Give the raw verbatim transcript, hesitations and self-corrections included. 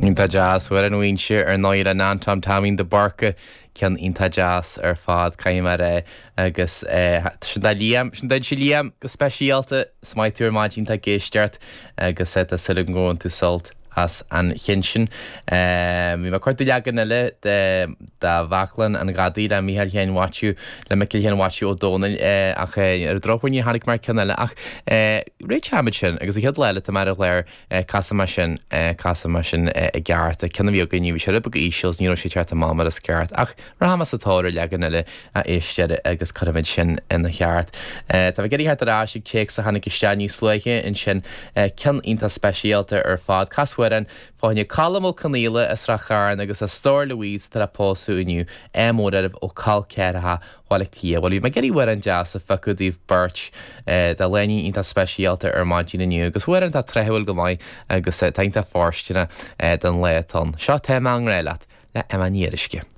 Iontach deas Amhrán na hInse ar ndóigh le Anton Taimín de Búrca ceann iontach deas ar fad caithfidh mé é agus sin do Liam sin duitse Liam go speisialta is maith tú ar maidin tá ag éisteacht agus tá súil agam go bhfuil tú sult as an cheann sin. Bhí mé cuartú leagan eile de de Bhaclann an Ghadaí le Mícheál Sheáin Mhaitiú le Micil Sheáin Mhaitiú Ó Dónaill ach ar an drochuair ní tháinig mar ceann eile ach réiteoimid sin agus an chéad lá eile tá mé ar an gclár casfaidh mé sin casfaidh mé sin i gceart ceann a bhí againn bhí sé rud beag íseal ní raibh sé ceart amach mar is ceart ach rachaidh mé sa tóir ar leagan eile a éisteoir agus cuirfimid sin ina cheart. Tá mé ag iarraidh theacht ar ais ag téacs a tháinig isteach níos luaithe ansin ceann iontach speisialta ar fad casamhrán fá choinne Colm Ó Conaola as Ráth Chairn agus a stór Louise atá le pósadh inniu ádh mór oraibh ó Col Ceathracha Bhaile Átha Cliath. Bhuel bhí mé ag iarraidh amhrán deas a phiocadh daoibh beirt do lánúin iontach speisialta ar maidin inniu agus amhrán atá tráthúil go maith agus tá iontach fóirsteanach don lá atá ann. Seo Tá mé i ngrá leat le Emma Ní Fhíoruisce.